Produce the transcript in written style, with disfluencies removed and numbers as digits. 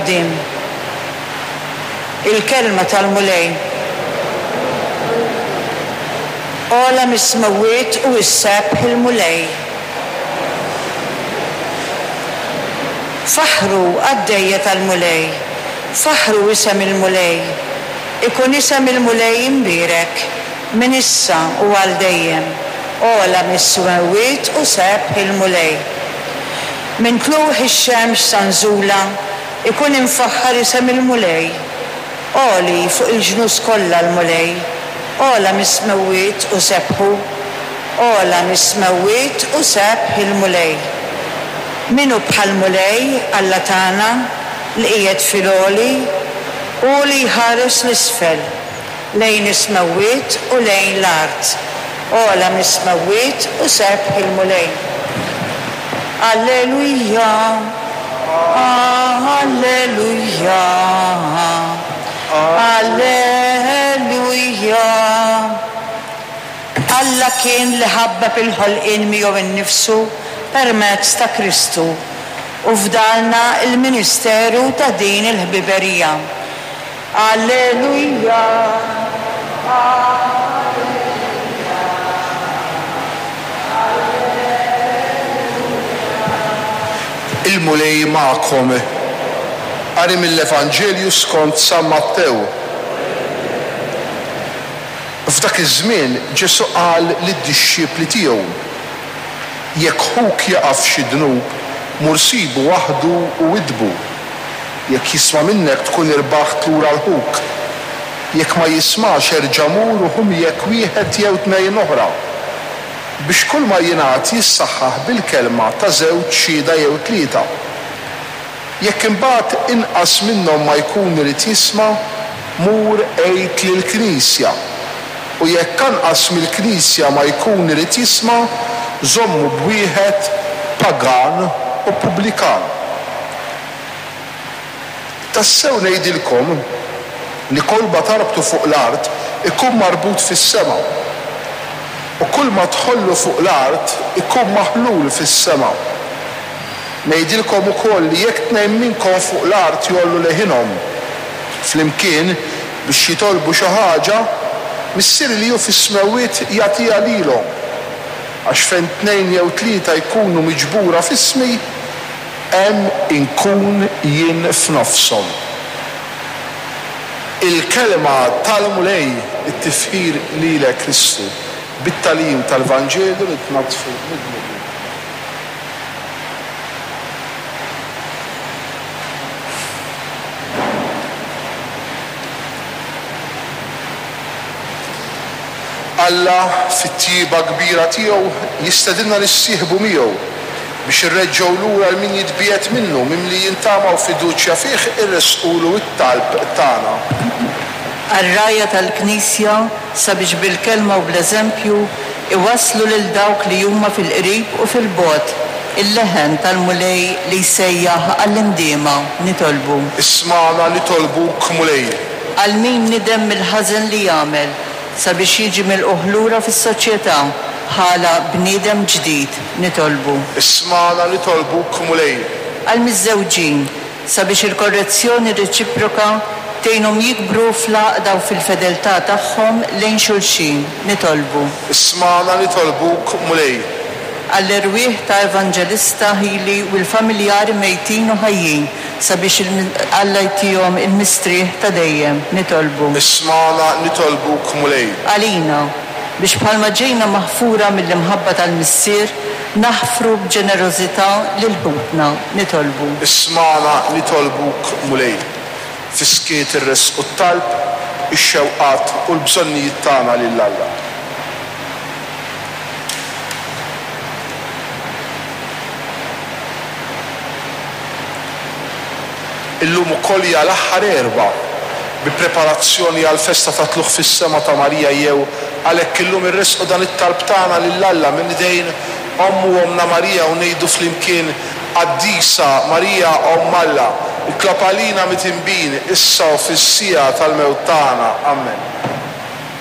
quddiem. Il-Kelma tal-Mulej. Ogħla mis-smewwiet u issebbħ il-Mulej. Faħħru, qaddejja tal-Mulej, faħħru isem il-Mulej. Ikun isem il-Mulej imbierek, minn issa u għal dejjem. Ogħla mis-smewwiet u sebbħ il-Mulej. Minn tlugħ ix-xemx sa nżulha, ikun imfaħħar isem il-Mulej. Għoli fuq il-ġnus kollha l-Mulej, ogħla mis-smewwiet u sebbħu. Ogħla mis-smewwiet u sebbħ il-Mulej. Min hu bħall-Mulej, Alla tagħna, li qiegħed fil-għoli, hu li jħares 'l isfel, lejn is-smewwiet u lejn l-art. Ogħla mis-smewwiet u sebbħ il-Mulej. Alleluja, Alleluja, Alleluja. Alla kien li ħabbeb il-ħolqien miegħu nnifsu permezz ta' Kristu u fdalna l-ministeru ta' din il-ħbiberija. Alleluja, Alleluja, Alleluja. Il-Mulej magħkom. Qari mill-Evanġelju skont San Mattew. F'dak iż-żmien Ġesù qal lid-dixxipli tiegħu, Jekk ħuk jaqa' f'xi dnub, mur sibu waħdu u widdbu. Jekk jisma' minnek tkun irbaħt lura 'l ħuk. Jekk ma jismax erġa' mur u ħu miegħek wieħed jew tnejn oħra, biex kulma jingħad jissaħħaħ bil-kelma ta' żewġ xhieda jew tlieta. Jekk imbagħad inqas minnhom ma jkun irid jisma', mur għid lill-knisja. U jekk anqas mill-knisja ma jkun irid jisma', żommu b'wieħed pagan u pubblikan. Tassew ngħidilkom li kulma tarbtu fuq l-art ikun marbut fis-sema, u kulma tħollu fuq l-art ikun maħlul fis-sema. Ngħidilkom ukoll li jekk tnejn minnkom fuq l-art jgħollu leħinhom flimkien biex jitolbu xi ħaġa, Missieri li hu fis-smewwiet jagħtiha lilhom. Għax fejn tnejn jew tlieta jkunu miġbura f'ismi, hemm inkun jien f'nofshom. Il-Kelma tal-Mulej, it-tifħir lilek Kristu. Bit-tagħlim tal-Vanġelu nitnaddfu mid-dnubiet. Alla, fit-tjieba kbira tiegħu, jistedinna nissieħbu miegħu biex irreġġgħu lura 'l min jitbiegħed minnu, mimlijin tama u fiduċja fih irressqulu t-talb tagħna. Għar-rgħajja tal-Knisja sabiex bil-kelma u bl-eżempju iwasslu lil dawk li huma fil-qrib u fil-bogħod il-leħen tal-Mulej li jsejjaħ għall-indiema, nitolbu. Ismagħna nitolbuk, Mulej. Għal min nidem mill-ħażen li għamel sabiex jiġi milqugħ lura fis-soċjetà bħala bniedem ġdid, nitolbu. Ismagħna nitolbuk, Mulej. Għall-miżżewġin, sabiex il-korrezzjoni reċiproka tgħinhom jikbru fl-għaqda u fil-fedeltà tagħhom lejn xulxin, nitolbu. Ismagħna nitolbuk, Mulej. Għall-erwieħ ta' Evanġelista Hili u l-familjari mejtin u ħajjin, sabiex Alla jtihom il-mistrieħ ta' dejjem, nitolbu. Ismagħna nitolbuk, Mulej. Għalina, biex bħalma ġejna maħfura mill-imħabba tal-Missier, Naħfru b'ġenerożità lil ħutna, nitolbu. Ismagħna nitolbuk, Mulej. Fis-skiet irressqu t-talb, ix-xewqat u l-bżonnijiet tagħna lil Alla. Illum ukoll hija l-aħħar Erbgħa bi preparazzjoni għall-festa tat-Tlugħ fis-Sema ta' Marija jew għalhekk illum irressqu dan it-talb tagħna lil Alla minn idejn Ommu Ommna Marija u ngħidu flimkien, Qaddisa Marija Omm Alla, itlob għalina mitinbin issa u fis-siegħa tal-mewt tagħna. Ammen.